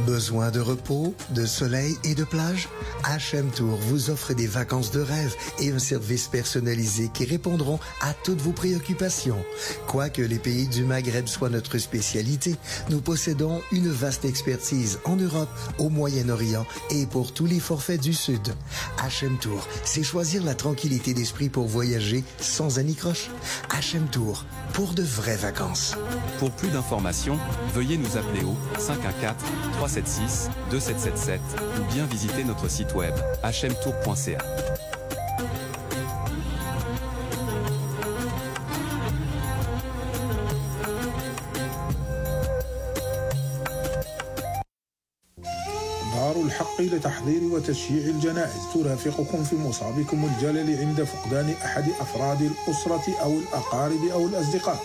Besoin de repos, de soleil et de plage? HM Tour vous offre des vacances de rêve et un service personnalisé qui répondront à toutes vos préoccupations. Quoique les pays du Maghreb soient notre spécialité, nous possédons une vaste expertise en Europe, au Moyen-Orient et pour tous les forfaits du Sud. HM Tour, c'est choisir la tranquillité d'esprit pour voyager sans anicroche. HM Tour, pour de vraies vacances. Pour plus d'informations, veuillez nous appeler au 514-376-2777 ou bien visiter notre site web hmtour.ca. دار الحق لتحضير وتشييع الجنائز ترافقكم في مصابكم الجلل عند فقدان أحد أفراد الأسرة أو الأقارب أو الأصدقاء.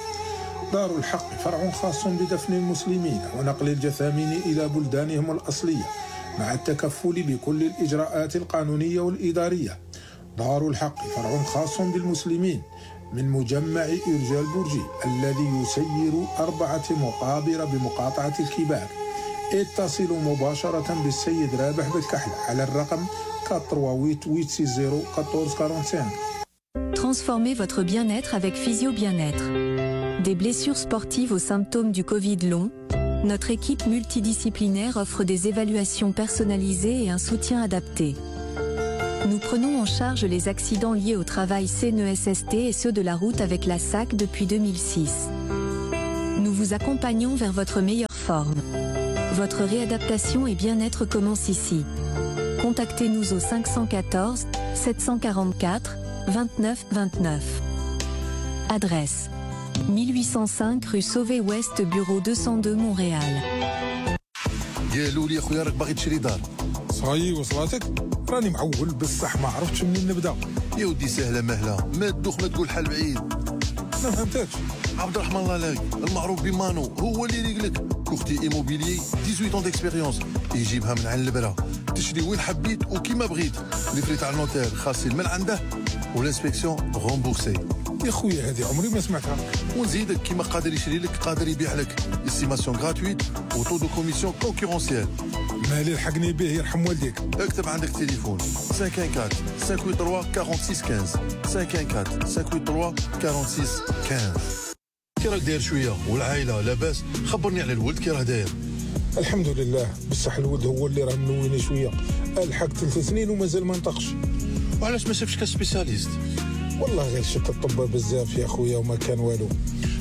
دار الحق فرع خاص بدفن المسلمين ونقل الجثامين إلى بلدانهم الأصلية مع التكفل بكل الإجراءات القانونية والإدارية. دار الحق فرع خاص بالمسلمين من مجمع إرجال برجي الذي يسير 4 مقابر بمقاطعة الكباك. اتصلوا مباشرة بالسيد رابح بالكحل على الرقم 488601445. Transformez votre bien-être avec Physio Bien-être. Des blessures sportives aux symptômes du Covid long, notre équipe multidisciplinaire offre des évaluations personnalisées et un soutien adapté. Nous prenons en charge les accidents liés au travail CNESST et ceux de la route avec la SAC depuis 2006. Nous vous accompagnons vers votre meilleure forme. Votre réadaptation et bien-être commence ici. Contactez-nous au 514 744 29 29. Adresse 1805 rue Sauvé-Ouest, bureau 202 Montréal. قالوا لي اخويا راك باغي تشري دار. صاي وصلاتك؟ راني معول بصح ما عرفتش منين نبدا. يا ودي سهله مهله، ما تدوخ ما تقول حل بعيد. ما فهمتكش. عبد الرحمن الله لاقي المعروف بمانو هو اللي يريقلك. كوختي ايموبيليي 18 ans d'expérience يجيبها من عند البرا. تشري وين حبيت وكيما بغيت. لي فري تاع النوتير خاصين من عنده والانسبكسيون رومبورسي. يا خويا هذه عمري ما سمعتها. ونزيدك كيما قادر يشري لك قادر يبيع لك. استيماسيون غراتويت وطو دو كوميسيون كونكورونسيال. مالي الحقني به يرحم والديك. اكتب عندك تليفون 514 583 46 15 514 583 46 15. كي راك داير شويه والعائله لاباس؟ خبرني على الولد كي راه داير. الحمد لله بصح الولد هو اللي راه منويني شويه. الحق 3 سنين ومازال ما نطقش. وعلاش ما شافش كسبيسياليست؟ والله غير شت الطب بزاف يا خويا وما كان والو.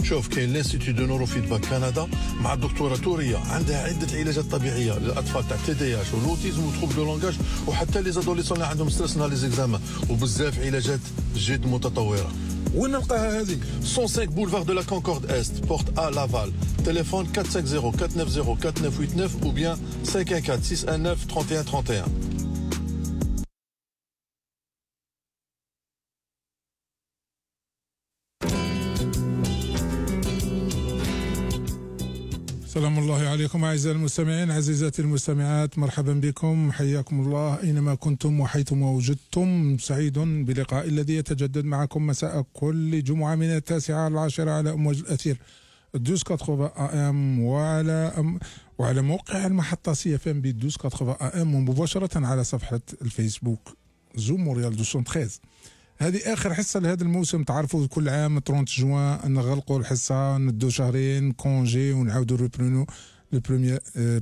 شوف كاين لانستيتو دو نورو فيدباك كندا مع الدكتوره توريه عندها عده علاجات طبيعيه للاطفال تاع تي دي اش والاوتيزم وتروب دو لونغاج وحتى لي زادوليسون اللي عندهم ستريس نهار لي زيكزامان وبزاف علاجات جد متطوره. وين نلقاها هذه؟ 105 بولفار دو لا كونكورد است بورت ا لافال. تليفون 450 490 4989 ou bien 514 619 31 31. سلام الله عليكم أعزائي المستمعين عزيزاتي المستمعات، مرحبا بكم، حياكم الله أينما كنتم وحيثما وجدتم. سعيد بلقاء الذي يتجدد معكم مساء كل جمعة من 9 إلى 10 على أمواج الأثير 1280 AM وعلى موقع المحطة CFM ب 1280 AM ومباشرة على صفحة الفيسبوك زوم مونريال 213. هذه آخر حصة لهذا الموسم. تعرفوا كل عام 30 جوان نغلقوا الحصة، ندو شهرين كونجي ونعاودوا ريبرونو لو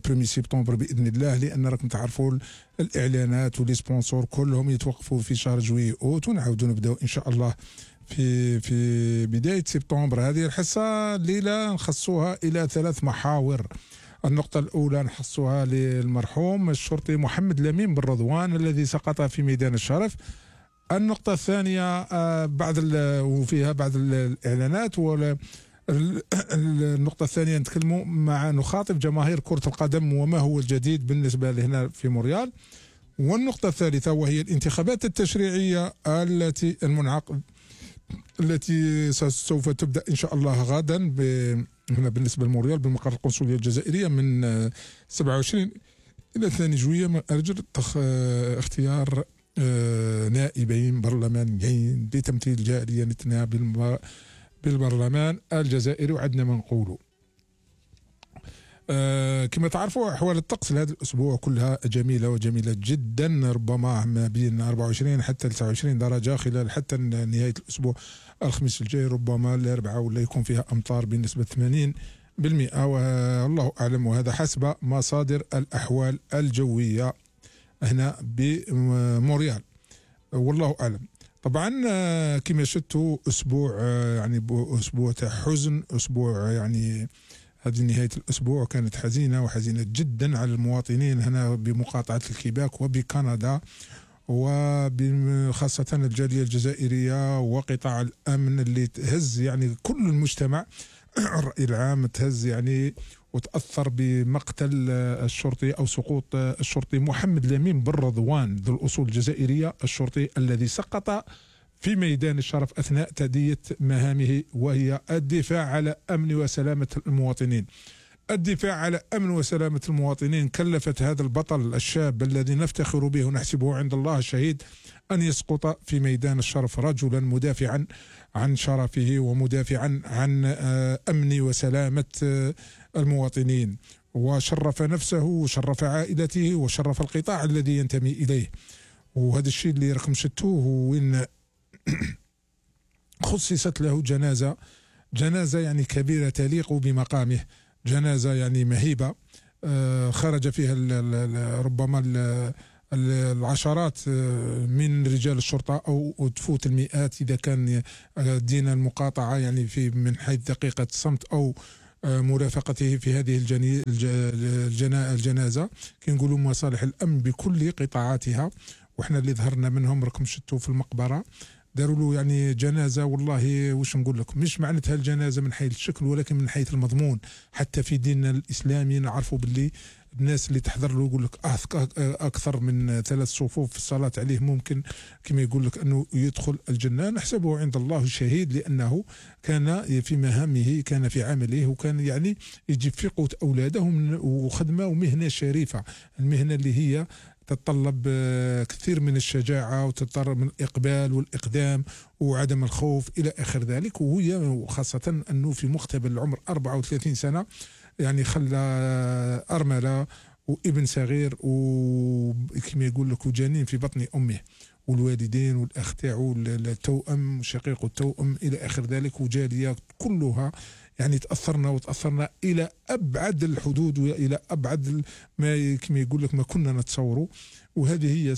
بروميي سبتمبر بإذن الله، لأن راكم تعرفوا الإعلانات ولي سبونسور كلهم يتوقفوا في شهر جوي أوت ونعاودوا نبداو إن شاء الله في بداية سبتمبر. هذه الحصة الليلة نخصوها إلى 3 محاور. النقطة الأولى نخصوها للمرحوم الشرطي محمد لمين بن رضوان الذي سقط في ميدان الشرف. النقطة الثانية وفيها بعض الإعلانات. النقطة الثانية نخاطب جماهير كرة القدم وما هو الجديد بالنسبة لهنا في مونريال. والنقطة الثالثة وهي الانتخابات التشريعية التي سوف تبدأ إن شاء الله غدا هنا بالنسبة لمونريال بالمقر القنصلية الجزائرية من 27 إلى 2 جويلية من أجل اختيار نائبين برلمانيين لتمثيل جاليتنا بالبرلمان الجزائري. وعدنا ما نقولوا كما تعرفوا أحوال الطقس لهذا الأسبوع كلها جميلة وجميلة جدا، ربما ما بين 24 حتى 29 درجة خلال حتى نهاية الأسبوع الخميس الجاي، ربما الأربعاء ولا يكون فيها أمطار بنسبة 80%، والله أعلم، وهذا حسب مصادر الأحوال الجوية هنا بموريال، والله أعلم. طبعا كما شفتوا أسبوع يعني أسبوع تاع حزن، أسبوع يعني هذه نهاية الأسبوع كانت حزينة وحزينة جدا على المواطنين هنا بمقاطعة الكيباك وبكندا، وخاصة الجالية الجزائرية وقطاع الأمن اللي تهز يعني كل المجتمع الرأي العام تهز يعني، وتأثر بمقتل الشرطي أو سقوط الشرطي محمد لمين بن رضوان ذو الأصول الجزائرية، الشرطي الذي سقط في ميدان الشرف أثناء تأدية مهامه، وهي الدفاع على أمن وسلامة المواطنين. الدفاع على أمن وسلامة المواطنين كلفت هذا البطل الشاب الذي نفتخر به ونحسبه عند الله شهيد أن يسقط في ميدان الشرف رجلا مدافعا عن شرفه ومدافعا عن أمن وسلامة المواطنين، وشرف نفسه وشرف عائلته وشرف القطاع الذي ينتمي إليه. وهذا الشيء اللي رقم شتوه وين خصصت له جنازة يعني كبيرة تليق بمقامه، جنازة يعني مهيبة خرج فيها ربما العشرات من رجال الشرطة أو تفوت المئات إذا كان دين المقاطعة يعني في من حيث دقيقة الصمت أو مرافقته في هذه الجنازة. كنقولوا مصالح الأمن بكل قطاعاتها، وإحنا اللي ظهرنا منهم راكم شفتوا في المقبرة داروا له يعني جنازة، والله واش نقول لكم، مش معناتها الجنازة من حيث الشكل ولكن من حيث المضمون. حتى في ديننا الإسلامي نعرفوا باللي الناس اللي تحضر له يقول لك أكثر من 3 صفوف في الصلاة عليه ممكن كما يقول لك أنه يدخل الجنة. نحسبه عند الله شهيد لأنه كان في مهامه، كان في عمله، وكان يعني يجيب في قوت أولاده وخدمة ومهنة شريفة، المهنة اللي هي تتطلب كثير من الشجاعة وتتطلب من الإقبال والإقدام وعدم الخوف إلى آخر ذلك. وهي خاصة أنه في مقتبل العمر 34 سنة يعني خلى أرملة وابن صغير وكما يقول لك وجنين في بطن أمه، والوالدين والأخ تاعو التوأم شقيق التوأم إلى آخر ذلك، وجالية كلها يعني تأثرنا إلى أبعد الحدود وإلى أبعد ما كما يقول لك ما كنا نتصوره. وهذه هي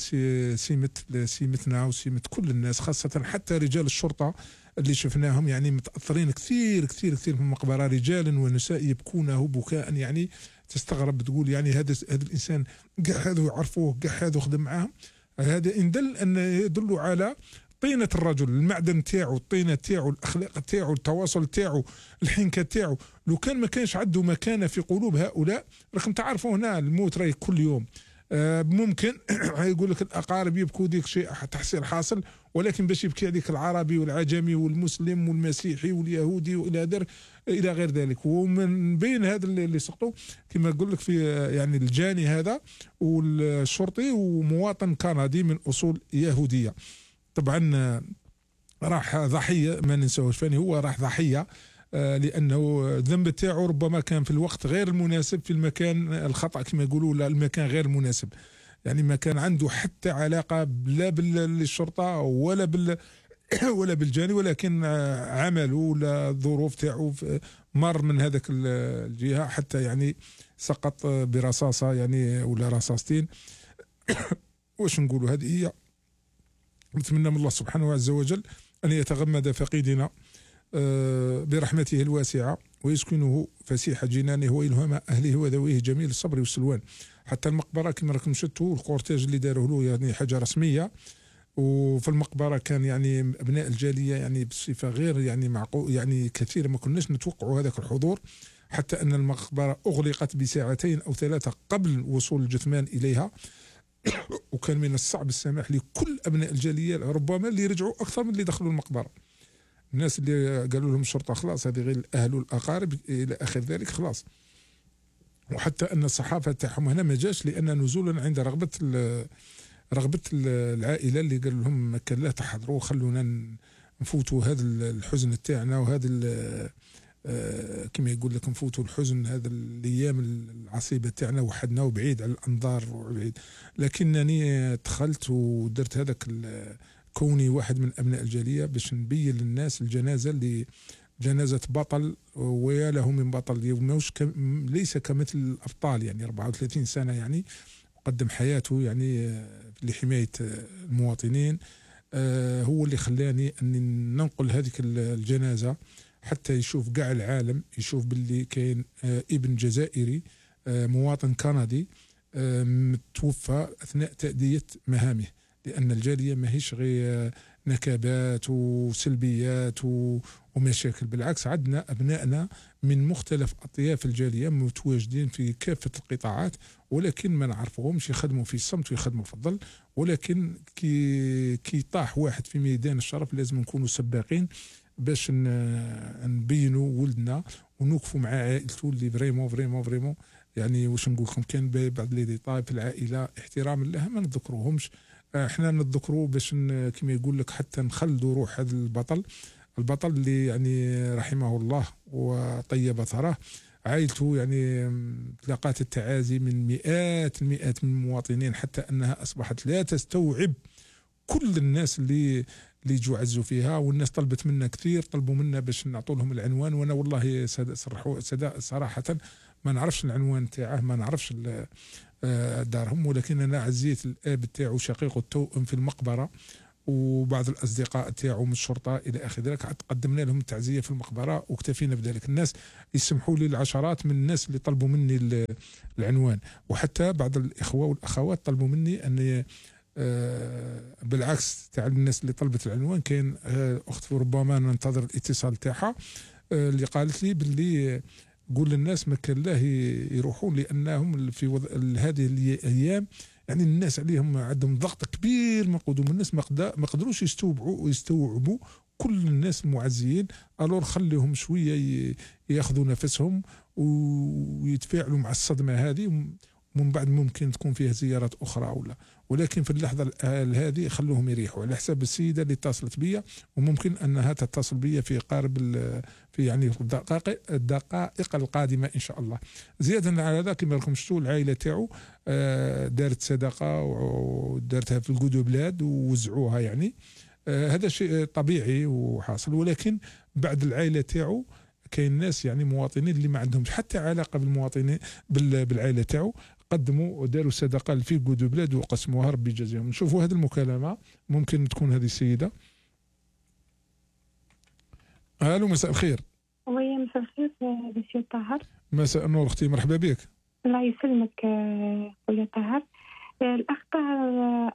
سمتنا وسمة كل الناس، خاصة حتى رجال الشرطة اللي شفناهم يعني متأثرين كثير كثير كثير في المقبرة، رجالا ونساء يبكونه بكاء يعني تستغرب، تقول يعني هذا الإنسان كاع هذا يعرفوه، كاع هذا خدم معاهم. هذا أن يدل على طينة الرجل، المعدن تاعو، الطينة تاعو، الأخلاق تاعو، التواصل تاعو، الحنكة تاعو. لو كان ما كانش عنده مكانة في قلوب هؤلاء، راكم تعرفوا هنا الموت راي كل يوم. ممكن يقول لك الأقارب يبكوا ديك شيء تحصيل حاصل، ولكن باش يبكي عليك العربي والعجمي والمسلم والمسيحي واليهودي إلى غير ذلك. ومن بين هذا اللي سقطوا كما أقول لك في يعني الجاني هذا والشرطي ومواطن كندي من أصول يهودية. طبعا راح ضحية، ما ننساوش فاني هو راح ضحية لأنه الذنب تاعو ربما كان في الوقت غير المناسب، في المكان الخطأ كما يقولوا، لا المكان غير المناسب، يعني ما كان عنده حتى علاقة لا بالشرطة ولا بالجاني، ولكن عمله ولا الظروف تاعو مر من هذاك الجهة حتى يعني سقط برصاصة يعني ولا رصاصتين. واش نقولوا، هذه هي. نتمنى من الله سبحانه عز وجل أن يتغمد فقيدنا برحمته الواسعة ويسكنه فسيح جنانه وإلهام أهله وذويه جميل الصبر والسلوان. حتى المقبرة كما راكم شفتوا الكورتاج اللي داروه له يعني حاجة رسمية، وفي المقبرة كان يعني أبناء الجالية يعني بصفة غير يعني معقول، يعني كثير ما كناش نتوقعوا هذاك الحضور، حتى أن المقبرة أغلقت بساعتين أو 3 قبل وصول الجثمان إليها. وكان من الصعب السماح لكل أبناء الجالية ربما اللي رجعوا أكثر من اللي دخلوا المقبرة. الناس اللي قالوا لهم الشرطة خلاص هذه غير الأهل والأقارب إلى آخر ذلك خلاص. وحتى أن الصحافة تاعهم هنا ما جاش، لأن نزولا عند رغبة العائلة اللي قالوا لهم ما كان لا تحضروا، خلونا نفوتوا هذا الحزن تاعنا وهذا كما يقول لك نفوتوا الحزن هذا الايام العصيبه تاعنا وحدنا وبعيد على الانظار وبعيد. لكنني دخلت ودرت هذاك كوني واحد من ابناء الجاليه باش نبين للناس الجنازه اللي جنازه بطل، ويا له من بطل ليس كمثل الابطال، يعني 34 سنه يعني قدم حياته يعني لحمايه المواطنين. هو اللي خلاني اني ننقل هذيك الجنازه حتى يشوف كاع العالم، يشوف باللي كاين ابن جزائري مواطن كندي توفى اثناء تأدية مهامه. لان الجاليه ماهيش غير نكبات وسلبيات ومشاكل، بالعكس عندنا ابنائنا من مختلف اطياف الجاليه متواجدين في كافه القطاعات، ولكن ما نعرفوهمش، يخدموا في الصمت ويخدموا في الظل. ولكن كي طاح واحد في ميدان الشرف لازم نكونوا سباقين باش نبينوا ولدنا ونوقفوا مع عائلته اللي فريمون يعني واش نقول لكم كان بعض لي ديتاي في العائله احتراما لها ما نذكروهمش. احنا نذكروا باش كما يقول لك حتى نخلدوا روح هذا البطل اللي يعني رحمه الله وطيب ثراه. عائلته يعني تلقات التعازي من مئات المئات من المواطنين حتى انها اصبحت لا تستوعب كل الناس اللي يجوا عزوا فيها، والناس طلبت منا كثير، طلبوا منا باش نعطوا لهم العنوان، وانا والله صراحه ما نعرفش العنوان تاعه، ما نعرفش دارهم، ولكن انا عزيت الاب تاعو شقيقه التوأم في المقبره وبعض الاصدقاء تاعو من الشرطه الى اخر ذلك، قدمنا لهم التعزيه في المقبره واكتفينا بذلك. الناس يسمحوا لي العشرات من الناس اللي طلبوا مني العنوان، وحتى بعض الاخوه والاخوات طلبوا مني اني بالعكس تاع الناس اللي طلبت العنوان. كاين اخت ربما ننتظر الاتصال تاعها اللي قالت لي باللي قول للناس ما كان له يروحون، لانهم في هذه الايام يعني الناس عليهم عندهم ضغط كبير من قدوم الناس، ما قدروش يستوعبوا كل الناس المعزيين. الور خليهم شويه ياخذوا نفسهم ويتفاعلوا مع الصدمه هذه، ومن بعد ممكن تكون فيها زيارات اخرى ولكن في اللحظه هذه خلوهم يريحوا على حساب السيده اللي اتصلت بي، وممكن انها تتصل بي في قارب في يعني الدقائق القادمه ان شاء الله. زياده على هذا كما راكم شفتوا العائله تاعو دارت صدقه ودارتها في القدو بلاد ووزعوها، يعني هذا شيء طبيعي وحاصل. ولكن بعد العائله تاعو كاين ناس يعني مواطنين اللي ما عندهمش حتى علاقه بالمواطنين بالعائله تاعو، قدموا وداروا صدقه في قدو بلاد وقسموها، ربي يجازيهم. نشوفوا هذه المكالمه، ممكن تكون هذه السيده. الو مساء الخير. وي مساء الخير مسيو طاهر. مساء النور اختي، مرحبا بك. الله يسلمك خويا طاهر. الاخ طاهر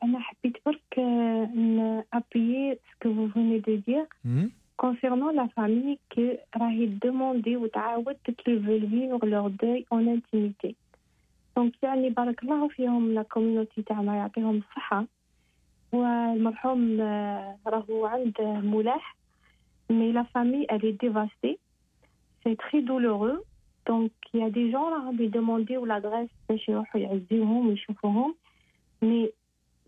انا حبيت برك ابيي سكو فو فوني دو دير concernant la famille qui راهي demandé وتعاود تطلب vivre leur deuil en intimité. دونك يعني بارك الله فيهم لا كوميونيتي تاعنا يعطيهم الصحة. والمرحوم راهو عند ملاح mais la famille elle est dévastée, c'est très douloureux. donc il y a des gens راهم يدومونديو l'adresse باش يروحوا يعزيوهم ويشوفوهم mais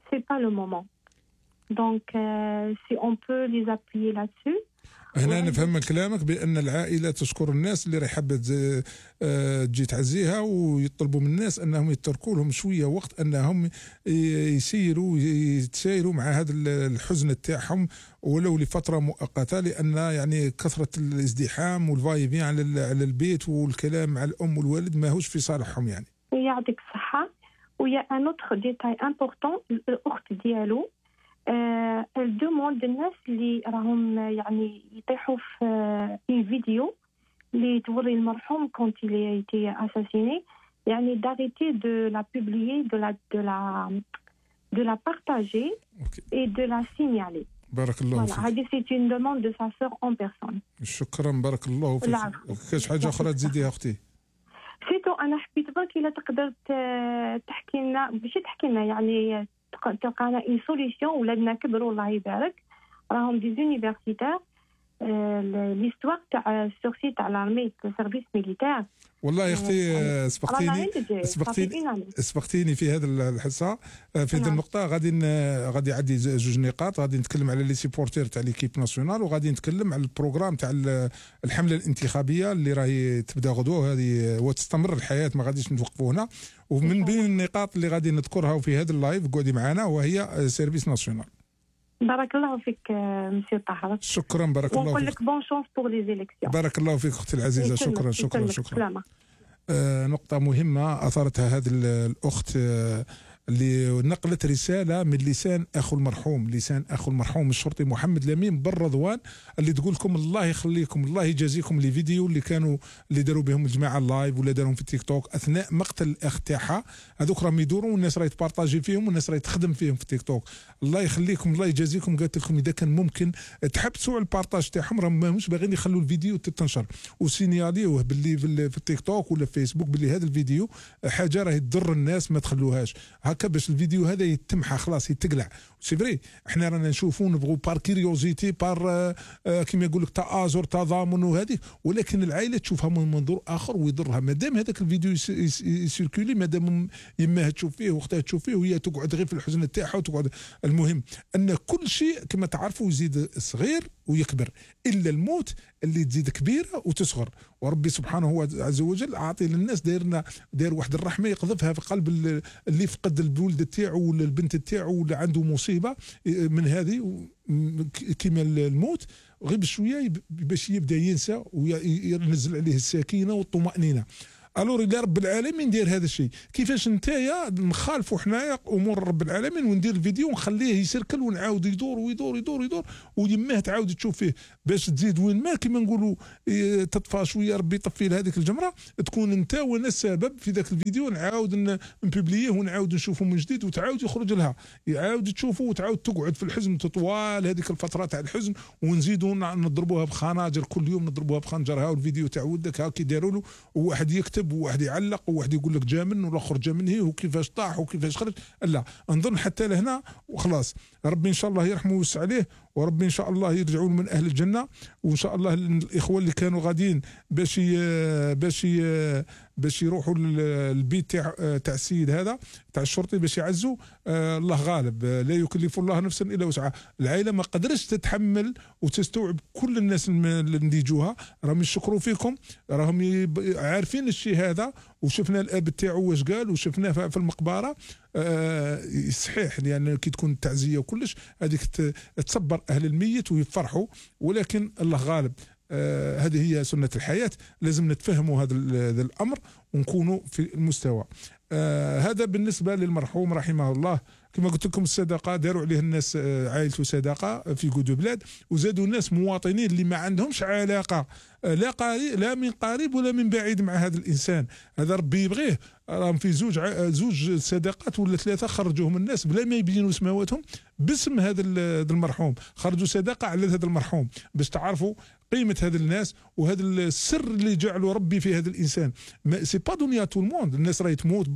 c'est pas le moment. donc si on peut les appuyer là-dessus. هنا نفهم من كلامك بأن العائلة تشكر الناس اللي راح حابة تجي تعزيها، ويطلبوا من الناس أنهم يتركوا لهم شوية وقت أنهم يتسايروا مع هذا الحزن تاعهم ولو لفترة مؤقتة، لأن يعني كثرة الازدحام والفايفين على البيت والكلام مع الأم والوالد ما هوش في صالحهم يعني. يعطيك الصحة. ويا ان اوتر ديتاي امبورطون، الأخت ديالو الدوموند الناس اللي راهم يعني يطيحوا في فيديو اللي توري المرحوم كونت il a été assassiné، يعني d'arrêter de la publier, de la partager et de la signaler. بارك الله فيك. هذه c'est une demande de sa sœur en personne. شكرا بارك الله فيك. كاش حاجة أخرى تزيديها أختي؟ سيتو أنا حبيت برك إلا تقدر تحكي لنا باش تحكي لنا يعني تلقانا اون سوليسيون. ولادنا كبروا الله يبارك، راهم دي زونيفرسيتير ليستوار تاع السورسي تاع لارمي سيرفيس ميليتير. والله يا اختي سبقتيني في هذا الحصه في هذه النقطه. غادي عندي جوج نقاط. غادي نتكلم على لي سيبورتير تاع ليكيب ناسيونال، وغادي نتكلم على البروغرام تاع الحمله الانتخابيه اللي راهي تبدا غدوه هذه وتستمر الحياه، ما غاديش نوقفوا هنا. ومن بين النقاط اللي غادي نذكرها في هذا اللايف قعدي معنا وهي سيرفيس ناسيونال. بارك الله فيك مسيو طاهر. شكرا بارك الله فيك. ونقول لك بون شونس بور لي زيليكسيون. بارك الله فيك اختي العزيزه. شكرا. نقطة مهمة أثارتها هذه الأخت اللي نقلت رسالة من لسان أخو المرحوم الشرطي محمد لمين بن رضوان، اللي تقول لكم الله يخليكم الله يجازيكم لي فيديو اللي داروا بهم الجماعة اللايف ولا دارهم في التيك توك أثناء مقتل الأخ تاعها. هذوك راهم يدوروا والناس راهي تبارطاجي فيهم والناس راهي تخدم فيهم في التيك توك. الله يخليكم الله يجازيكم. قالت لكم إذا كان ممكن تحبسوا على البارطاج تاعهم، راهم ماهمش باغيين يخلوا الفيديو تتنشر، وسينياليوه باللي في التيك توك ولا في فيسبوك باللي هذا الفيديو حاجة راهي تضر الناس، ما تخلوهاش هكا باش الفيديو هذا يتمحى خلاص يتقلع. سي فري احنا رانا نشوفوا نبغوا بار كيريوزيتي بار كيما يقول لك تآزر تضامن وهذه، ولكن العائله تشوفها من منظور اخر ويضرها. مادام هذاك الفيديو يسيركولي، مادام يماها تشوف فيه واختها تشوف فيه وهي تقعد غير في الحزن تاعها وتقعد. المهم ان كل شيء كما تعرفوا يزيد صغير ويكبر، الا الموت اللي تزيد كبيره وتصغر. وربي سبحانه عز وجل عاطي للناس داير واحد الرحمه يقذفها في قلب اللي فقد الولد تاعو ولا البنت تاعو ولا عنده مصيبه من هذه كيما الموت، غير بشويه باش يبدا ينسى وينزل عليه السكينه والطمانينه. الور الى رب العالمين دير هذا الشيء. كيفاش نتايا نخالفوا حنايا امور رب العالمين وندير الفيديو ونخليه يسركل ونعاود يدور ويدور يدور يدور ويماه تعاود تشوف فيه باش تزيد وين ما كيما نقولوا تطفى شويه ربي يطفي لهذيك الجمره، تكون انت وانا السبب في ذاك الفيديو نعاود نبوبليه ونعاود نشوفه من جديد وتعاود يخرج لها يعاود تشوفه وتعاود تقعد في الحزن تطوال هذيك الفتره تاع الحزن، ونزيدوا نضربوها بخناجر كل يوم نضربوها بخنجرها والفيديو تاع ولدك هاكي داروا له وواحد يكتب وواحد يعلق وواحد يقول لك جا من والاخر جا من هي وكيفاش طاح وكيفاش خرج. لا نظن حتى لهنا وخلاص. ربي ان شاء الله يرحمه ويوسع عليه، وربي ان شاء الله يرجعون من اهل الجنه، وان شاء الله الاخوه اللي كانوا غاديين باش يروحوا للبيت تاع السيد هذا تاع الشرطي باش يعزوا. الله غالب لا يكلف الله نفسا الا وسعها. العائله ما قدرتش تتحمل وتستوعب كل الناس اللي نديجوها. راهم يشكروا فيكم، راهم عارفين الشيء هذا، وشفنا الاب تاعو واش قال وشفناه في المقبره. صحيح لان كي تكون التعزيه وكلش هذيك تصبر اهل الميت ويفرحوا، ولكن الله غالب. هذه هي سنة الحياة، لازم نتفهموا هذا الأمر ونكونوا في المستوى. هذا بالنسبة للمرحوم رحمه الله. كما قلت لكم الصدقة داروا عليه الناس عائلته صدقة في قدو بلاد، وزادوا الناس مواطنين اللي ما عندهمش علاقة لا من قريب ولا من بعيد مع هذا الإنسان. هذا ربي يبغيه. راهم في زوج صدقات ولا ثلاثة خرجوهم الناس بلا ما يبينوا سماواتهم باسم هذا المرحوم، خرجوا صدقة على هذا المرحوم باش تعرفوا قيمة هذا الناس وهذا السر اللي جعله ربي في هذا الإنسان. سي با دنيا تو الموند، الناس راهي تموت.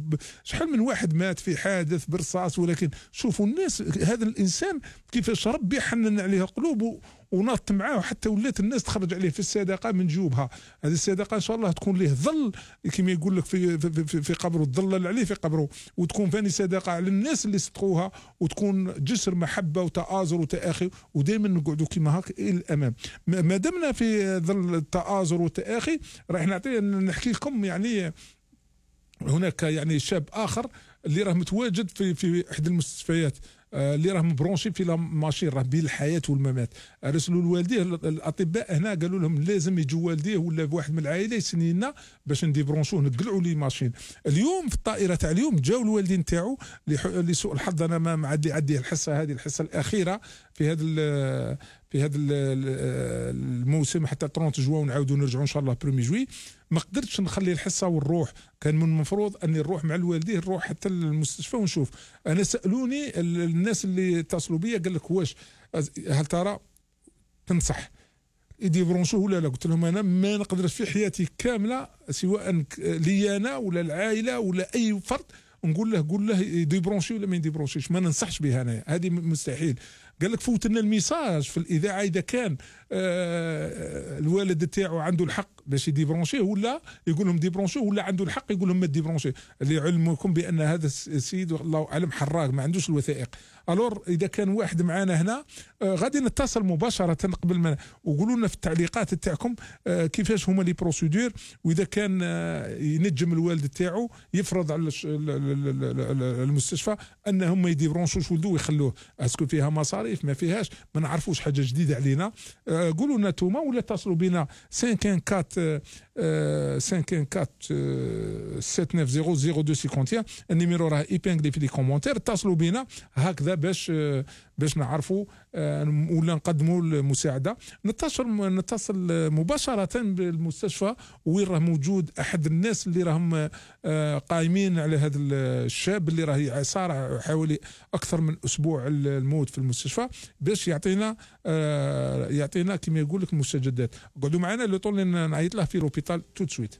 شحال من واحد مات في حادث برصاص، ولكن شوفوا الناس هذا الإنسان كيفاش ربي حنن عليه القلوب ونط معاه حتى ولات الناس تخرج عليه في الصدقه من جيوبها. هذه الصدقه ان شاء الله تكون له ظل كما يقول لك في قبره، تظلل عليه في قبره، وتكون ثاني صدقه على الناس اللي صدقوها، وتكون جسر محبه وتآزر وتآخي، ودائما نقعدوا كما هكا الى الامام. ما دمنا في ظل التآزر والتآخي راح نحكي لكم يعني هناك يعني شاب اخر اللي راه متواجد في احدى المستشفيات اللي راه مبرونشي في ماشين راه بين الحياه والممات. رسلوا لوالديه الاطباء هنا قالوا لهم لازم يجوا والديه ولا بواحد من العائله يسني لنا باش نديبرونشوه نقلعوا لي ماشين. اليوم في الطائره تاع اليوم جاوا الوالدين تاعو لسوء الحظ انا ما معدي الحصه هذه الحصه الاخيره في هذا الموسم حتى 30 جوان ونعاودوا نرجعوا ان شاء الله 1 جوي. ما قدرتش نخلي الحصه ونروح، كان من المفروض اني نروح مع الوالدين نروح حتى المستشفى ونشوف. انا سالوني الناس اللي اتصلوا بيا قال لك واش هل ترى تنصح يديبرونشوه ولا لا؟ قلت لهم انا ما نقدرش في حياتي كامله سواء لي انا ولا العائله ولا اي فرد نقول له قول له يديبرونشي ولا ما يديبرونشيش، ما ننصحش بها انا، هذه مستحيل. قال لك فوت لنا الميساج في الاذاعه اذا كان الوالد تاعو عنده الحق باش يديبرونشيه ولا يقول لهم ديبرونشيه، ولا عنده الحق يقول لهم ما ديبرونشيه. اللي علمكم بان هذا السيد الله اعلم حراق ما عندوش الوثائق. الور اذا كان واحد معنا هنا غادي نتصل مباشره قبل ما، وقولوا لنا في التعليقات تاعكم كيفاش هما لي بروسيدور، واذا كان ينجم الوالد تاعو يفرض على المستشفى انهم ما يديبرونشوش ولده ويخلوه. اسكو فيها مصاريف ما فيهاش ما نعرفوش، حاجه جديده علينا. قولوا لنا نتوما ولا اتصلوا بنا 514 7900 النيميرو راه ايبانغلي في لي كومونتير. اتصلوا بنا هكذا باش نعرفوا ولا نقدموا المساعده. نتصل مباشره بالمستشفى وين راه موجود احد الناس اللي راهم قائمين على هذا الشاب اللي راه صار حوالي اكثر من اسبوع الموت في المستشفى، باش يعطينا كما يقول لك المستجدات. قعدوا معنا لو طول نعيط له في لوبيتال تو سويت.